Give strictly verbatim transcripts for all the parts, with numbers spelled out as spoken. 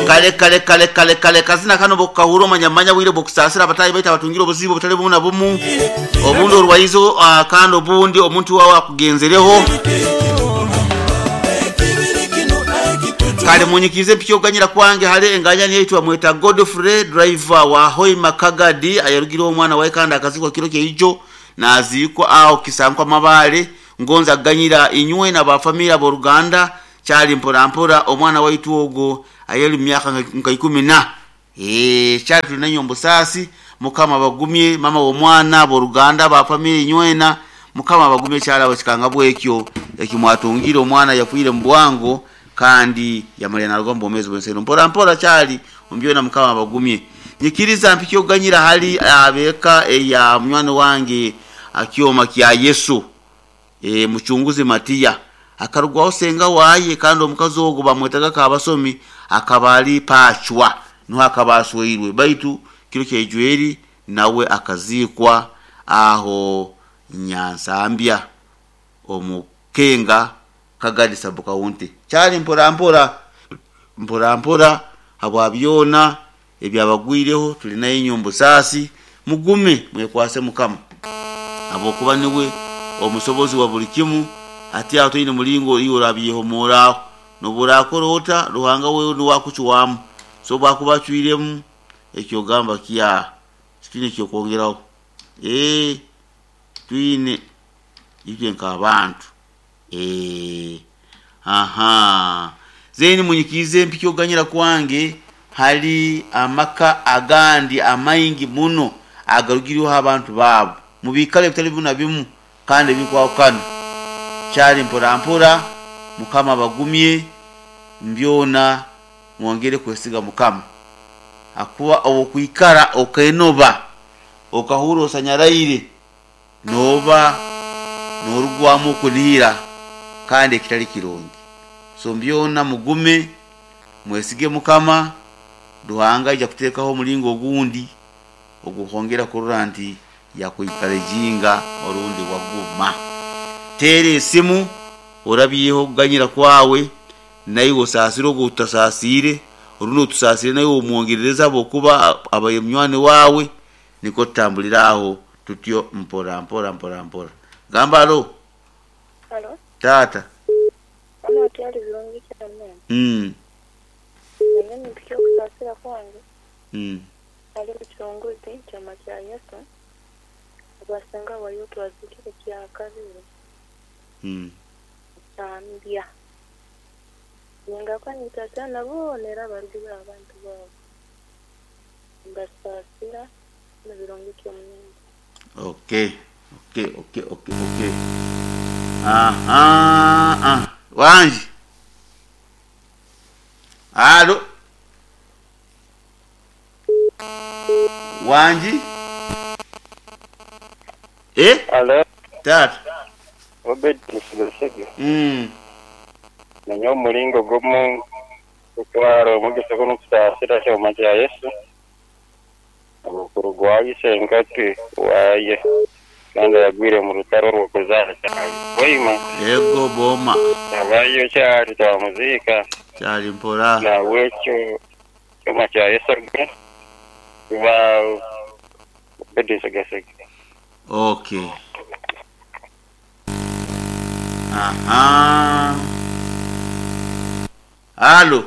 Kale kale kale kale kale kazina kano bokukahura omanyamanya bwire bwokusaasira abatayi baitu abatungire obuzibu obutali bumu na bumu, obundi orwaizo, uh, kandi obundi omuntu wawe akugenzereho. Kale munyikize empyoganyira kwange hale enganya niyeitwa mweta Godfrey, driver wa Hoima Kagadi, ayarugireho omwana wawe kandi akazikwa kiro kyeijo naziikwa aho kisankwa mabale. Ngonza ganyira inywe na bafamila b'oruganda kyali mpora mpora omwana waitu ogwo ayali myaka nka ikumi na eh kyali tulina nyombusasi. Mukama bagumye mama w'omwana b'oruganda bafamila inywena, mukama bagumye kyalawe kikanga bwekyo ekimwatungire omwana yafuire mu bwango kandi yamalya naruga mu bwomezi bw'ensi mpora mpora kyali ombyona mukama bagumye. Nyikiriza mpikyo ganyira hali abeka eya munywani wange akyoma kya Yesu e, muchunguzi Matiya akarugwaho senga waye kandi omukazi ogwo bamwetaga kabasomi akabali pachwa nuho akabasweirwe baitu kiro kyejweri nawe akazikwa aho Nyansambya omukenga Kagadi sub-county. Kyali mpora mpora mpora mpora habwa byona ebyabagwireho tulina enyombo sasi mugume mwekwase mukama abokuba niwe omusobozi wa buli kimu. Ati aho toine mulingo iyo orabyehomoraho noburakora ota Ruhanga wewe niwakucwamu so bwakuba acwiremu ekyogamba kya twine kyokwongeraho eh twine itwe nk'abantu eh aha zeni munyikize mpikyoganyira kwange hali amaka agandi amaingi muno agarugiriho abantu babo mubikale bitali bimu na bimu kandi bikwawukana. Kyali mpora mpora mukama bagumye mbyona mwongere kwesiga mukama akuba okwikara okenoba okahura osanyaraire noba norugwamu okunihira kandi ekitali kirungi. So mbyona mugume mwesige mukama Ruhanga aija kuteekaho omulingo ogundi ogukwongera kurora nti yakwikara ejinga orundi waguma. Teera esimu orabyeho okuganyira kwawe naiwe osaasire ogwo otasasiire orundi otusaasire naiwe omwongerereza habwokuba abaye munywani wawe niko tutambulira aho tutyo mpora mpora mpora mpora. Gamba alo. Alo. Tata. Mama kyali birungi cyane. Mm. Nanye nimpikyo okusaasira kwange. Mm. Ali muchunguzi kyama kya Yesu. Abasenga wayo twazikire kya kabiri. Mm. Tambya. Ningakwa nitasana nabo nera barugire abantu babo. Mbasaasira na birungi ky'omungu. Okay. Okay, okay, okay, okay. Aha, ah. Wanji. Alo. Wanji. Eh? Alo. Tata. Obed Nsigasege. Mm. Nanye omulingo gumu kutwara omugisa guno kusaasira kyoma kya Yesu. Obukuru gwayise enkati waye kandi yagwire mu rutaro rw'okuzaara kyali bwaima. Ego boma. Abayo kyali twamuzika. Kyali mpora. Nawe ekyo kyoma kya Yesu gwe kuba Obed Nsigasege. Okay. Aha. Alo.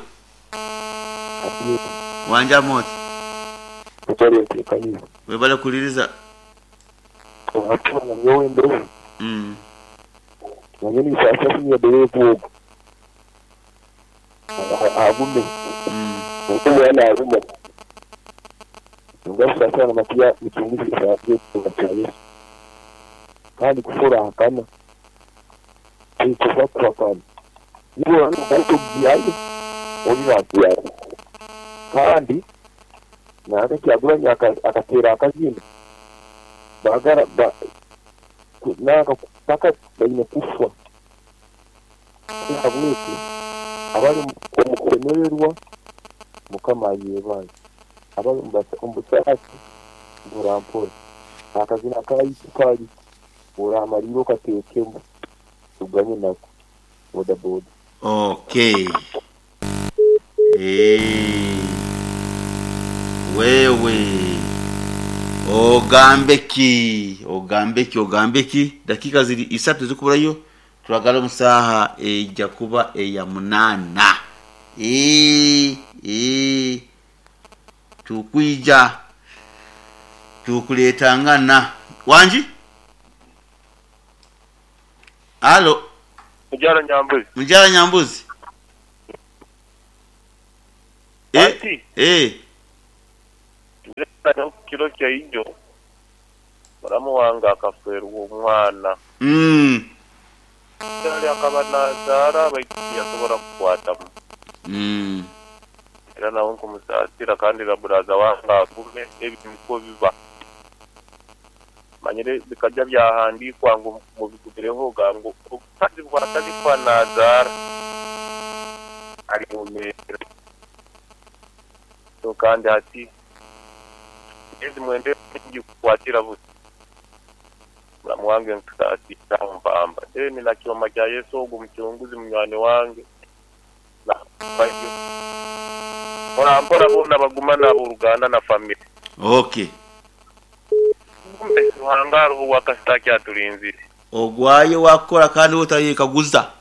Wanja moti. Webale kuliriza. Mm. Mm. Kandi kufurahakana kandi nange Kyagulanyi akateera akazina bagara nanka paka baine kufa habwekyo abali omu kusemererwa mukama ayebaze, abali omu busaasi mpora akazina kaitu kali oramalire okateekemu tuganye nako boda boda. Okay. Eh, wewe ogambe ki ogambe ki ogambe ki dakika ziri isatu zikuburayo turagala omusaha ejja kuba eya munana. Eh, eh, tukwija tukuletangana wanji alo. Mujara Nyambuzi. Mujara Nyambuzi. Eh, Ati. eh. Kiro kya ijo muramu wange akaferwa omwana. Mm. Yali akaba nazaara baitu tiyasobola kukwatamu. Mm. Era nawe nkumusaasira kandi na buraza wange agume ebyo niko biba. Manyire bikajya byahandikwa ngo mubigumireho ga ngo obukazi bwatandikwa nazaara ari mu mera. So kandi ati ezi mwende kukwatira busa. Muramu wange nkusaasira mpamba. Then na kyoma kya Yesu ogu muchunguzi munywani wange. Na kwayo. Mpora mpora bona baguma nabo uruganda na family. Okay. Kumbe Ruhanga hariho wakasita kyaturinzire. Ogwayo wakora kandi otayekaguza.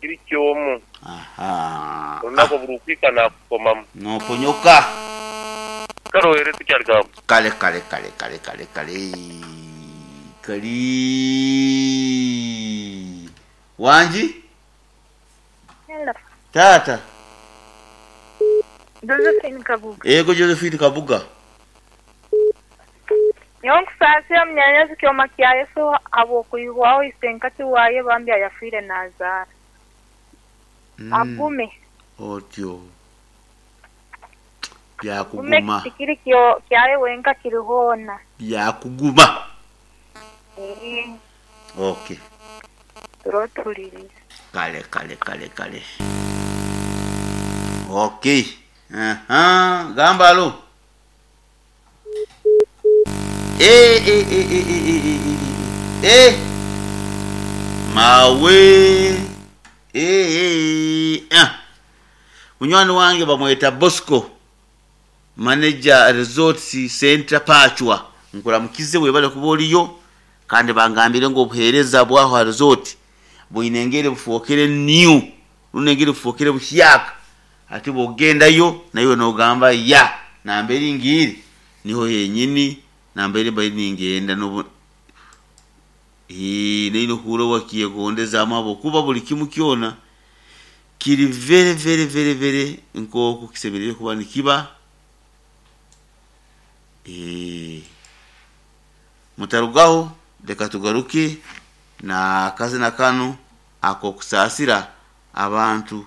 Kiri kyomu. Aha. Olunaku burukwika nakukomamu. Noponyoka. Karohere tukyarigamba. Kale kale kale kale kale kale. Kali. Wanji? Hello. Tata. Josephine Kabuga. Ego Josephine Kabuga. Nyowe munyanyazi kyoma kya Yesu habw'okwihwaho isenkati waaye bambi ayafiire nazaara. Mm. Agume. Otyo. Gume Byakuguma. tikiri kyo kyaye wenka kiri hoona. Byakuguma. Eh, Okay. turotuliriza. Kale kale kale kale. Okay. Aha, gamba alo. Eh eh eh eh eh eh eh eh. Eh. Mawe. Eh eh. Ah. Munywani wange bamweta Bosco. Manager Resort Center Pachwa. Nkuramukize webale kuba oliyo kandi bangambire ngo obuheereza bwaho resort bwinengere bufuokere new runengere bufuokere buhyaka ati bwogendayo nayo nogamba ya nambere ngiri niho yenyini nambere bari ningenda nobu eh neino kuro wakiyegondeza amabo kuba buli kimu kyona kiri very very very very nk'oku kisemerere kuba nikiba. Eh mutarugaho reka tugaruke na akazina kano akokusaasira abantu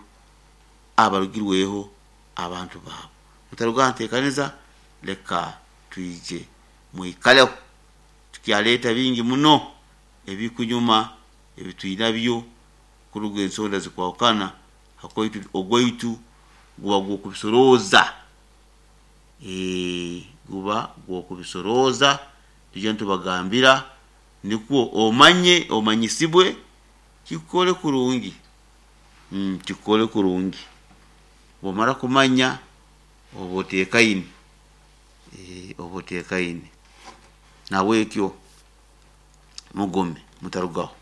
abarugirweho abantu baabo. Mutarugaho nteekaniza reka twije mwikaleho tukyaleeta bingi muno ebikunyuma ebitwinabyo kuruga ensonda zikwahukana hakoitu ogwaitu guba gw'okubisorooza. Eh guba gw'okubisorooza tujja ntubagambira nikwo omanye omanyisibwe kikole kurungi. Mm, kikole kurungi bwomara kumanya oba oteekaine. Eh oba oteekaine nawe ekyo mugume mutarugaho.